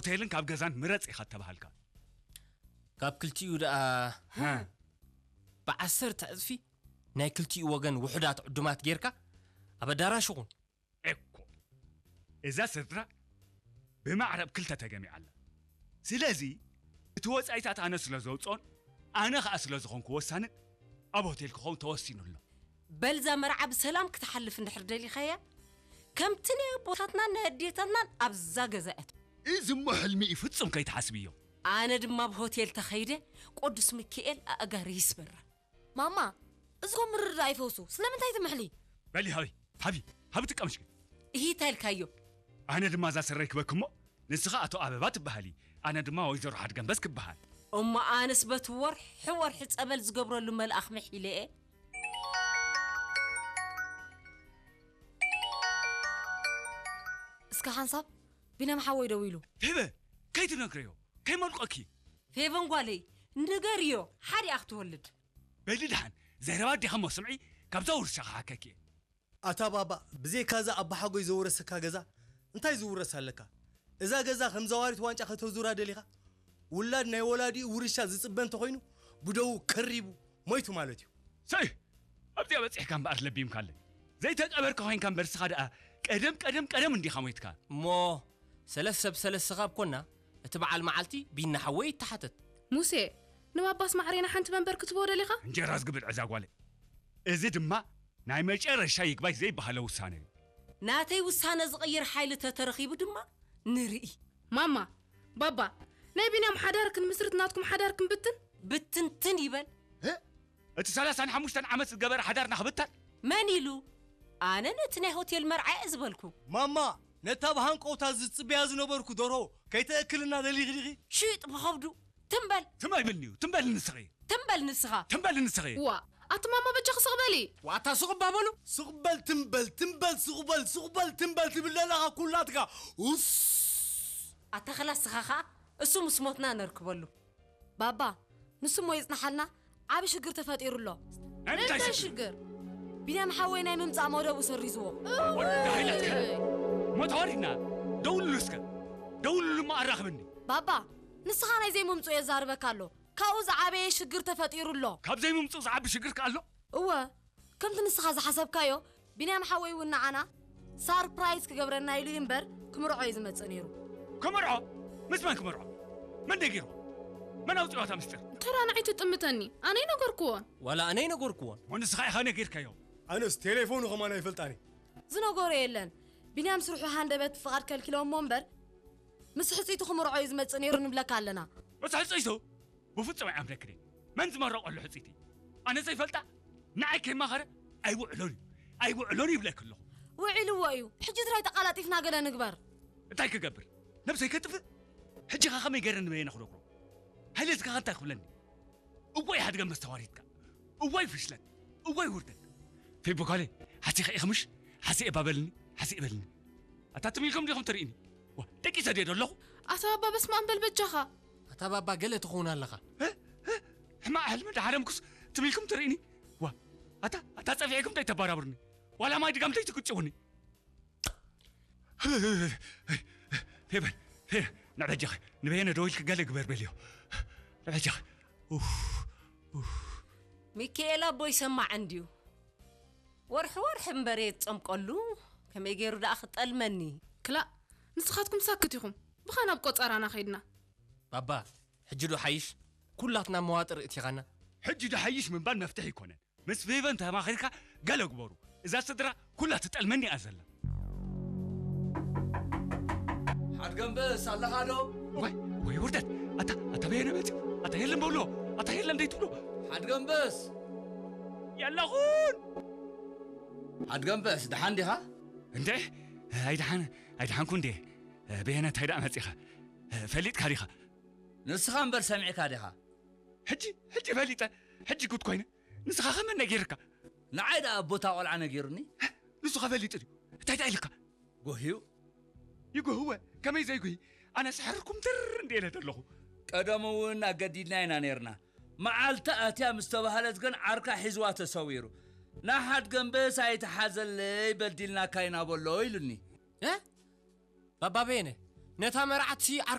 ሆቴልን ካብ ገዛን ምረጽ ኢኻ እተባሃልካ። ካብ ክልቲኡ ደኣ ብዓሰርተ ዕጽፊ ናይ ክልቲኡ ወገን ውሑዳት ዕዱማት ጌርካ ኣብ ኣዳራሽ ኹን። እኮ እዛ ስድራ ብማዕረ ኣብ ክልተ ተገሚዓ ኣላ። ስለዚ እቲ ወጻኢታት ኣነ ስለ ዘውጽኦን ኣነ ኸኣ ስለ ዝኾንኩ ወሳንን ኣብ ሆቴል ክኸውን ተወሲኑ ኣሎ። በልዛ መርዓ ብሰላም ክትሓልፍ እንድሕር ደሊኻያ ከምቲ ናይ ኣቦታትናን ናይ ኣዴታትናን ኣብዛ ገዛ እያ። እዚ እሞ ሕልሚ እዩ፣ ፍጹም ከይትሓስብዮ። ኣነ ድማ ኣብ ሆቴል ተኸይደ ቅዱስ ሚካኤል ኣእጋሪ ይስበራ። ማማ፣ እዚኹም ምርድዳእ ይፈውሱ። ስለምንታይ ትምሕሊ? በሊ ሃቢ፣ ሃቢ፣ ሃቢ ጥቀምሽ። እሂ እንታይ ኢልካዮ? ኣነ ድማ እዛ ስረ ይክበክ እሞ ንስኻ ኣቶ ኣበባ ትበሃሊ፣ ኣነ ድማ ወይዘሮ ሓድገንበስ ክበሃል። እሞ ኣነስ በቲ ወርሒ ወርሒ ጸበል ዝገብረሉ መልኣኽ ምሒለ እየ። እስከ ሓንሳብ ቢንያም ሓወይ ደዊሉ። ፌበ፣ ከይትነግረዮ፣ ከይመልቆኪ። ፌቨን ጓለይ፣ ንገርዮ፣ ሓዲኣ ክትወልድ። በሊ ደሓን፣ ዘረባ ኣዴኻ እሞ ስምዒ፣ ካብዛ ውርሻ ክሓከኪ እየ። ኣታ ባባ፣ ብዘይካዛ ኣባሓጎይ ዘውረሰካ ገዛ እንታይ ዝውረስ ኣለካ? እዛ ገዛ ከም ዘዋሪት ዋንጫ ከተዙራ ደሊኻ? ውላድ ናይ ወላዲኡ ውርሻ ዝጽበ እንተኾይኑ፣ ብደዉ ከሪቡ ሞይቱ ማለት እዩ። ሰይ! ኣብዚኣ በጺሕካ እምበኣር ለቢምካለይ። ዘይተቀበርካ ኮይንካ እምበር፣ ንስኻ ደኣ ቀደም፣ ቀደም፣ ቀደም እንዲኻ ሞይትካ። እሞ ሰለስ ሰብ ሰለስኻ ኣብ ኮና፣ እቲ በዓል መዓልቲ ቢና ሓወይ ይተሓተት። ሙሴ፣ ንባባስ ማዕሬና ሓንቲ መንበር ክትቦ ደሊኻ? እንጀራ ዝግብል ዕዛ ጓለይ። እዚ ድማ ናይ መጨረሻ ይግባይ ዘይበሃለ ውሳነ እዩ። ናተይ ውሳነ ዝቕይር ሓይሊ ተተረኺቡ ድማ ንርኢ። ማማ፣ ባባ፣ ናይ ቢንያም ሓዳር ክንምስርት ናትኩም ሓዳር ክንብትን? ብትንትን ይበል። እ? እቲ ሰላሳን ሓሙሽተን ዓመት ዝገበረ ሓዳርና ክብተን? መን ኢሉ? ኣነ ነቲ ናይ ሆቴል መርዓ እየ ዝበልኩ። ማማ፣ ነታ ብሃንቀውታ ዝጽበያ ዝነበርኩ ደርሆ ከይተእክልና ደሊኺ ዲኺ? ሽጥ ብኸብዱ። ትም በል። ትም ኣይብልን'ዩ። ትም በል ንስኺ። ትም በል ንስኻ። ትም በል ንስኺ። ዋ፣ ኣቲ ማማ በጃኺ ስቕ በሊ። ዋታ ስቕ እባ በሉ። ስቕ በል ትም በል፣ ትም በል፣ ስቕ በል፣ ስቕ በል፣ ትም በል ትብል ዘለኻ ኩላትካ። ኡስ። ኣታ ኸላስ ስኻ ኸኣ እሱ ምስ ሞትና ነርክበሉ። ባባ፣ ንሱ እሞ ይጽናሓልና፣ ዓቢ ሽግር ተፈጢሩ ኣሎ። ናይ ምንታይ እንታይ ሽግር? ሽግር? ቢንያም ሓወይ ናይ ምምጻእ መደቡ ሰሪዝዎ። ወዲ ዳሂላትከ? እወይ! እሞ ተዋሪድና። ደውልሉ እስከ። ደውልሉ እሞ ኣራኽብኒ። ባባ፣ ንስኻ ናይ ዘይምምጽኡ የዛርበካ ኣሎ። ካብኡ ዝዓበየ ሽግር ተፈጢሩ ኣሎ። ካብ ዘይምምጽኡ ዝዓቢ ሽግር ከ ኣሎ? እወ፣ ከምቲ ንስኻ ዝሓሰብካዮ፣ ቢንያም ሓወይ እውን ንዓና ሳርፕራይዝ ክገብረና ኢሉ እዩ እምበር፣ ክምርዖ እዩ ዝመጽእ ነይሩ። ክምርዖ? ምስ መን ክምርዖ? መን ነጊርዎ? መን ኣውጺእዋ እታ ምስጢር? እንተ ደኣ ንዓይ ትጥምተኒ፣ ኣነ ኣይነገርክዎን። ዋላ ኣነ ኣይነገርክዎን። እሞ ንስኻ ኢኻ ነጊርካዮ። ኣነስ ቴሌፎኑ ከማን ኣይፈልጣን እየ። ዝነገሮ የለን። ቢንያም ስርሑ ሃንደበት ፍቓድ ከልኪሎሞ እምበር፣ ምስ ሕጽይቱ ክምርዖ እዩ ዝመጽእ ነይሩ ንብለካ ኣለና። ምስ ሕጽይቱ? ብፍጹም ኣይኣምነክን እየ። መን ዝመረቐሉ ሕጽይቲ? ኣነ ዘይፈልጣ? ንዓይ ከይማኸረ ኣይውዕሎን እዩ። ኣይውዕሎን ይብለኪ ኣለኹ። ውዒልዎ እዩ። ሕጂ ጥራይ ተቓላጢፍና ገለ ንግበር። እንታይ ክገብር? ነብሰይ ከጥፍእ? ሕጂ ኸ ከመይ ገይረ ንበየነ ክነግሮ? ሃይለ እዚ ኸ እንታይ ክብለኒ? እዋይ ሓድገ መስተዋሪትካ። እዋይ ፍሽለት። እዋይ ውርደት። ፌቦ ጓለይ፣ ሓሲኸ ኢኺ ምሽ? ሓሲኤ እባ በልኒ፣ ሓሲኤ በልኒ። ኣታ ትም ኢልኩም ዲኹም ትርእይኒ? ዋ፣ ደቂሰ ድየ ዶ ኣለኹ? ኣታ ባባ በስመ ኣብ በል በጃኻ። ኣታ ባባ ገለ ትኸውን ኣለኻ። እ? እ? ሕማቕ ሕልሚ እንዳሓለምኩስ ትም ኢልኩም ትርእይኒ? ዋ፣ ኣታ፣ ኣታ ጸፊዕኩም እንታይ ተባራብሩኒ? ዋላ ማይ ድጋም እንታይ ትቅጭውኒ? ፌበን፣ ፌበን፣ ንበጃኺ፣ ንበየነ ደዊልኪ ገለ ግበር በልዮ። ንበጃኺ። ኡፍ፣ ኡፍ። ሚካኤል ኣቦ ይሰማዕ እንድዩ። ወርሒ ወርሒ እምበር እየ ዝጸምቀሉ፣ ከመይ ገይሩ ደኣ ክጠልመኒ? ክላእ፣ ንስኻትኩም ሳክት ኢኹም። ብኻ ናብ ቆጸራና ኸይድና። ባባ፣ ሕጂ ዶ ሓይሽ? ኩላትና መዋጥር እቲኻና። ሕጂ ዶ ሓይሽ ምባል መፍትሒ ኣይኮነን። ምስ ፌቨን ተማኺርካ ገለ ግበሩ። እዛ ስድራ ኩላ ትጠልመኒ እያ ዘላ። ሓድገምበስ ኣለኻ ዶ? ወይ፣ ወይ ውርደት። ኣታ፣ ኣታ በየነ መጺኡ። ኣታ የለን በሎ። ኣታ የለን ደይትብሎ። ሓድገምበስ። የለኹን። ሓድገምበስ፣ ደሓን ዲኻ? እንዴ፣ ኣይደሓን፣ ኣይደሓንኩ እንዴ። በየነ እንታይ ደኣ መጺኻ? ፈሊጥካ ዲኻ? ንስኻ እምበር ሰሚዕካ ዲኻ? ሕጂ፣ ሕጂ ፈሊጠ። ሕጂ ጉድ ኮይነ። ንስኻ ከመን ነጊርካ? ንዓይ ደኣ ኣቦታ ቆልዓ ነጊሩኒ። ንሱ ከፈሊጡ ድዩ? እንታይ ደኣ ኢልካ? ጎህዩ። ይጎህወ። ከመይ ዘይጉሂ? ኣነ ስሕርኩም ትር እንደ ኢለ ዘለኹ። ቀደሙ እውን ኣገዲድና ኢና ነይርና። መዓልቲ ኣትያ ምስ ተባህለት ግን ዓርካ ሒዝዋ ተሰዊሩ። ንሓድገምበስ ኣይትሓዘለይ በዲልናካ ኢና በሎ ኢሉኒ። እ? ባባ በየነ፣ ነታ መርዓትሲ ዓርካ